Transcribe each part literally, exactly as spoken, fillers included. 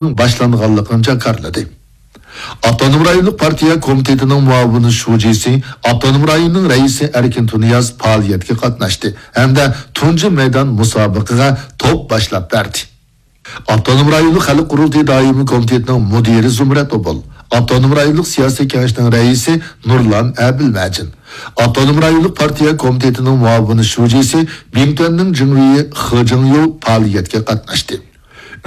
باشلانغانلىقىنى جاكارلىدى. ئاپتونوم رايونلۇق پارتىيە كومىتېتىنىڭ مۇئاۋىن شۇجىسى، ئاپتونوم رايوننىڭ رەئىسى ئەركىن تۇنىياز پائالىيەتكە قاتناشتى ھەمدە تۇنجى مەيدان مۇسابىقىگە توپ باشلاپ بەردى. ئاپتونوم رايونلۇق خەلق قۇرۇلتىيى دائىمىي كومىتېتىنىڭ مۇدىرى زۇمرەت ئوبۇل، ئاپتونوم رايونلۇق سىياسىي كېڭەشنىڭ رەئىسى نۇرلان ئەبىلمەجىن، ئاپتونوم رايونلۇق پارتىيە كومىتېتىنىڭ مۇئاۋىن شۇجىسى، بىڭتۈەننىڭ جىڭۋېيى خې جىڭيۇ پائالىيەتكە قاتناشتى.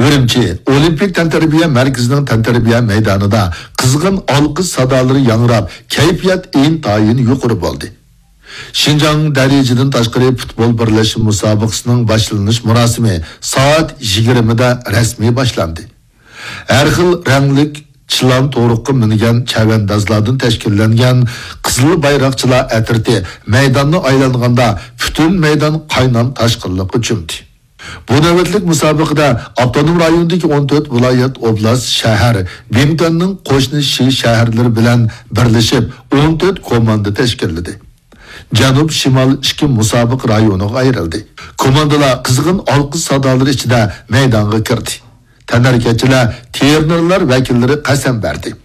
ئۈرۈمچى ئولىمپىك تەنتەربىيە مەركىزىنىڭ تەنتەربىيە مەيدانىدا قىزغىن ئالقىش سادالىرى ياڭراپ، كەيپىيات ئىنتايىن يۇقىرى بولدى. شىنجاڭ دەرىجىدىن تاشقىرى پۇتبول بىرلەشمە مۇسابىقىسىنىڭ باشلىنىش مۇراسىمى سائەت يىگىرمىدە رەسمىي باشلاندى. ھەر خىل رەڭلىك چىلان تورۇققا مىنگەن چەۋەندازلاردىن تەشكىللەنگەن قىزىل بايراقچىلار ئەترىتى مەيداننى ئايلانغاندا، پۈتۈن مەيدان قاينام تاشقىنلىققا چۆمدى. بۇ نۆۋەتلىك مۇسابىقىدە ئاپتونوم رايوندىكى ئون تۆت ۋىلايەت، ئوبلاست، شەھەر، بىڭتۈەننىڭ قوشنا شى شەھەرلىرى بىلەن بىرلىشىپ، ئون تۆت كوماندا تەشكىللىدى. جەنۇب، شىمال ئىككى مۇسابىقە رايونىغا ئايرىلدى. كوماندىلار قىزغىن ئالقىش سادالىرى ئىچىدە مەيدانغا كىردى. تەنھەرىكەتچىلەر، تىرېنېرلار ۋەكىللىرى قەسەم بەردى.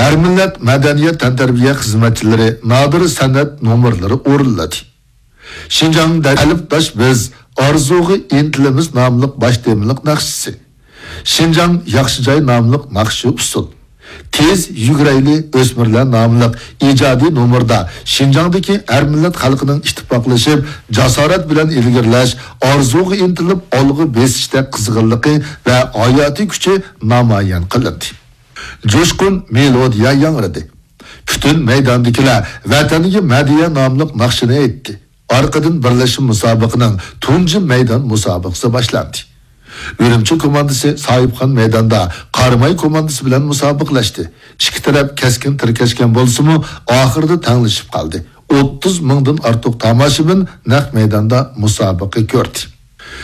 ھەر مىللەت مەدەنىيەت تەنتەربىيە خىزمەتچىلىرى نادىر سەنئەت نومۇرلىرى ئورۇنلىدى. شىنجاڭ دەل-، ئەلىپداش بىز، ئارزۇغا ئىنتىلىمىز ناملىق باش تېمىلىق ناخشىسى. شىنجاڭ ياخشى جاي ناملىق ناخشا ئۇسسۇل. تېز يۈگۈرەيلى ئۆسمۈرلەر ناملىق ئىجادىي نومۇردا شىنجاڭدىكى ھەر مىللەت خەلقىنىڭ ئىتتىپاقلىشىپ، جاسارەت بىلەن ئىلگىرىلەش، ئارزۇغا ئىنتىلىپ ئالغا بېسىشتەك قىزغىنلىقى ۋە ھاياتىي كۈچى نامايان قىلىندى. جۇشقۇن مېلودىيە ياڭرىدى. پۈتۈن مەيداندىكىلەر ۋەتەنگە مەدھىيە ناملىق ناخشىنى ئېيتتى. ئارقىدىن بىرلەشمە مۇسابىقىنىڭ تۇنجى مەيدان مۇسابىقىسى باشلاندى. ئۈرۈمچى كوماندىسى ساھىبخان مەيداندا قاراماي كوماندىسى بىلەن مۇسابىقىلەشتى. ئىككى تەرەپ كەسكىن تىركەشكەن بولسىمۇ، ئاخىرىدا تەڭلىشىپ قالدى. ئوتتۇز مىڭدىن ئارتۇق تاماشىبىن نەق مەيداندا مۇسابىقە كۆردى.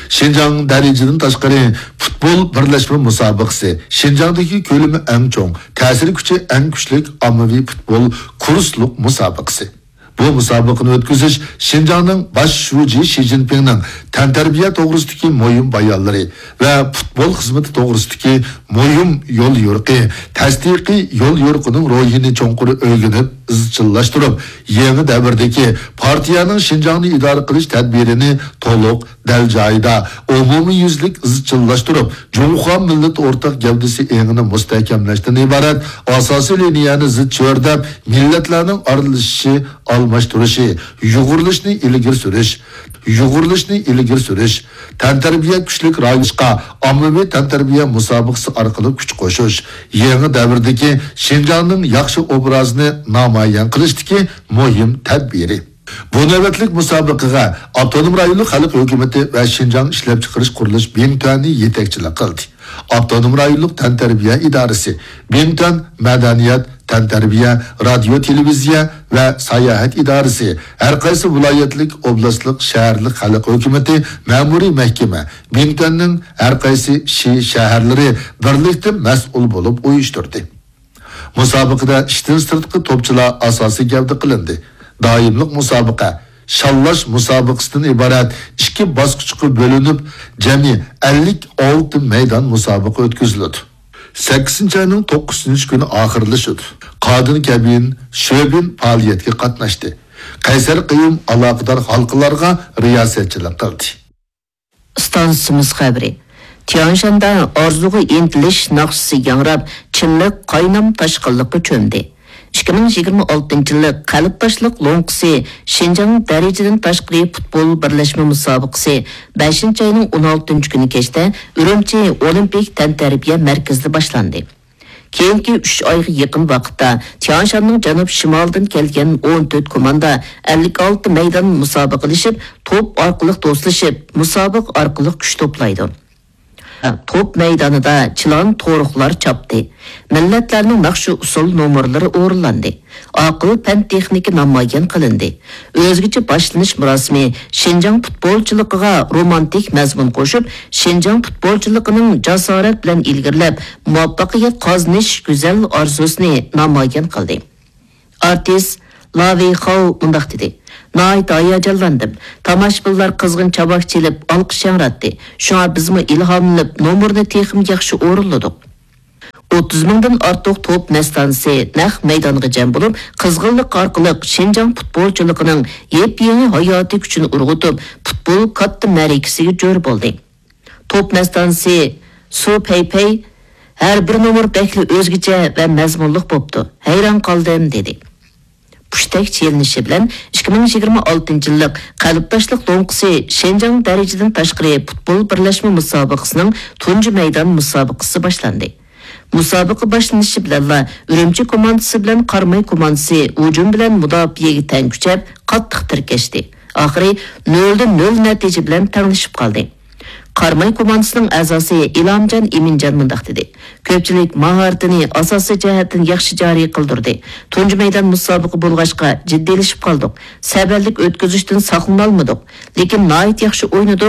شىنجاڭ دەرىجىدىن تاشقىرى پۇتبول بىرلەشمە مۇسابىقىسى شىنجاڭدىكى كۆلىمى ئەڭ چوڭ، تەسىر كۈچى ئەڭ كۈچلۈك ئاممىۋى پۇتبول كۇرسلۇق مۇسابىقىسى. بۇ مۇسابىقىنى ئۆتكۈزۈش شىنجاڭنىڭ باش شۇجى شى جىنپىڭنىڭ تەنتەربىيە توغرىسىدىكى مۇھىم بايانلىرى ۋە پۇتبول خىزمىتى توغرىسىدىكى مۇھىم يوليورۇقى، تەستىقىي يوليورۇقىنىڭ روھىنى چوڭقۇر ئۆگىنىپ ئىزچىللاشتۇرۇپ، يېڭى دەۋردىكى پارتىيەنىڭ شىنجاڭنى ئىدارە قىلىش تەدبىرىنى تولۇق، دەل جايىدا، ئومۇميۈزلۈك ئىزچىللاشتۇرۇپ، جۇڭخۇا مىللىتى ئورتاق گەۋدىسى ئېڭىنى مۇستەھكەملەشتىن ئىبارەت ئاساسىي لىنىيەنى زىچ چۆرىدەپ، مىللەتلەرنىڭ ئارىلىشىشى، ئالماشتۇرۇشى، يۇغۇرۇلۇشنى ئىلگىرى سۈرۈش، يۇغۇرۇلۇشنى ئىلگىرى سۈرۈش، تەنتەربىيە كۈچلۈك راۋۇشقا ئاممىۋى تەنتەربىيە مۇسابىقىسى ئارقىلىق كۈچ قوشۇش، يېڭى دەۋردىكى شىنجاڭنىڭ ياخشى ئوبرازىنى نامايان قىلىشتىكى مۇھىم تەدبىرى. بۇ نۆۋەتلىك مۇسابىقىگە ئاپتونوم رايونلۇق خەلق ھۆكۈمىتى ۋە شىنجاڭ ئىشلەپچىقىرىش قۇرۇلۇش بىڭتۈەنى يېتەكچىلىك قىلدى. ئاپتونوم رايونلۇق تەنتەربىيە ئىدارىسى، بىڭتۈەن مەدەنىيەت، تەنتەربىيە، رادىيو، تېلېۋىزىيە ۋە ساياھەت ئىدارىسى، ھەر قايسى ۋىلايەتلىك، ئوبلاستلىق، شەھەرلىك خەلق ھۆكۈمىتى، مەمۇرىي مەھكىمە، بىڭتۈەننىڭ ھەر قايسى شى شەھەرلىرى بىرلىكتە مەسئۇل بولۇپ ئۇيۇشتۇردى. مۇسابىقىدە ئىشتىن سىرتقى توپچىلار ئاساسىي گەۋدە قىلىندى. دائىملىق مۇسابىقە، شاللاش مۇسابىقىسىدىن ئىبارەت ئىككى باسقۇچقا بۆلۈنۈپ، جەمئىي ئەللىك ئالتە مەيدان مۇسابىقە ئۆتكۈزۈلىدۇ. سەككىزىنچى ئاينىڭ توققۇزىنچى كۈنى ئاخىرلىشىدۇ. قادىن كەبىن، شۆبىن پائالىيەتكە قاتناشتى. قەيسەر قېيۇم ئالاقىدار ھالقىلارغا رىياسەتچىلىك قىلدى. ئىستانسىمىز خەۋىرى. تيانشاندا ئارزۇغا ئىنتىلىش ناخشىسى ياڭراپ، چىملىق قاينام تاشقىنلىققا چۆمدى. ئىككى مىڭ يىگىرمە ئالتىنچى يىللىق قەلبداشلىق لوڭقىسى شىنجاڭ دەرىجىدىن تاشقىرى پۇتبول بىرلەشمە مۇسابىقىسى بەشىنچى ئاينىڭ ئون ئالتىنچى كۈنى كەچتە ئۈرۈمچى ئولىمپىك تەنتەربىيە مەركىزىدە باشلاندى. كېيىنكى ئۈچ ئايغا يېقىن ۋاقىتتا تيانشاننىڭ جەنۇب شىمالىدىن كەلگەن ئون تۆت كوماندا ئەللىك ئالتە مەيدان مۇسابىقىلىشىپ، توپ ئارقىلىق دوستلىشىپ، مۇسابىقە ئارقىلىق كۈچ توپلايدۇ. توپ مەيدانىدا چىلان تورۇقلار چاپتى. مىللەتلەرنىڭ ناخشا ئۇسسۇل نومۇرلىرى ئورۇنلاندى. ئاقىل پەن تېخنىكا نامايان قىلىندى. ئۆزگىچە باشلىنىش مۇراسىمى شىنجاڭ پۇتبولچىلىقىغا رومانتىك مەزمۇن قوشۇپ، شىنجاڭ پۇتبولچىلىقىنىڭ جاسارەت بىلەن ئىلگىرىلەپ، مۇۋەپپەقىيەت قازىنىش گۈزەل ئارزۇسىنى نامايان قىلدى. ئارتىس لاۋېي خاۋ مۇنداق دېدى: ناھايىتى ھاياجانلاندىم. تاماشىبىنلار قىزغىن چاۋاك چېلىپ، ئالقىش ياڭراتتى. شۇڭا بىزمۇ ئىلھاملىنىپ، نومۇرنى تېخىمۇ ياخشى ئورۇنلىدۇق. ئوتتۇز مىڭدىن ئارتۇق توپ مەستانىسى نەق مەيدانغا جەم بولۇپ، قىزغىنلىق ئارقىلىق شىنجاڭ پۇتبولچىلىقىنىڭ يېپيېڭى ھاياتىي كۈچىنى ئۇرغۇتۇپ، پۇتبول كاتتا مەرىكىسىگە جور بولدى. توپ مەستانىسى سۇ پەيپەي ھەر بىر نومۇر بەكلا ئۆزگىچە ۋە مەزمۇنلۇق بوپتۇ. ھەيران قالدىم، دېدى. پۇشتەك چېلىنىشى بىلەن ئىككى مىڭ يىگىرمە ئالتىنچى يىللىق قەلبداشلىق لوڭقىسى شىنجاڭ دەرىجىدىن تاشقىرى پۇتبول بىرلەشمە مۇسابىقىسىنىڭ تۇنجى مەيدان مۇسابىقىسى باشلاندى. مۇسابىقە باشلىنىشى بىلەنلا ئۈرۈمچى كوماندىسى بىلەن قاراماي كوماندىسى ھۇجۇم بىلەن مۇداپىئەگە تەڭ كۈچەپ، قاتتىق تىركەشتى. ئاخىرى نۆلدە نۆل نەتىجە بىلەن تەڭلىشىپ قالدى. قاراماي كوماندىسىنىڭ ئەزاسى ئىلھامجان ئىمىنجان مۇنداق دېدى: كۆپچىلىك ماھارىتىنى ئاساسىي جەھەتتىن ياخشى جارى قىلدۇردى. تۇنجى مەيدان مۇسابىقە بولغاچقا جىددىيلىشىپ قالدۇق. سەۋەنلىك ئۆتكۈزۈشتىن ساقلىنالمىدۇق. لېكىن ناھايىتى ياخشى ئوينىدۇق.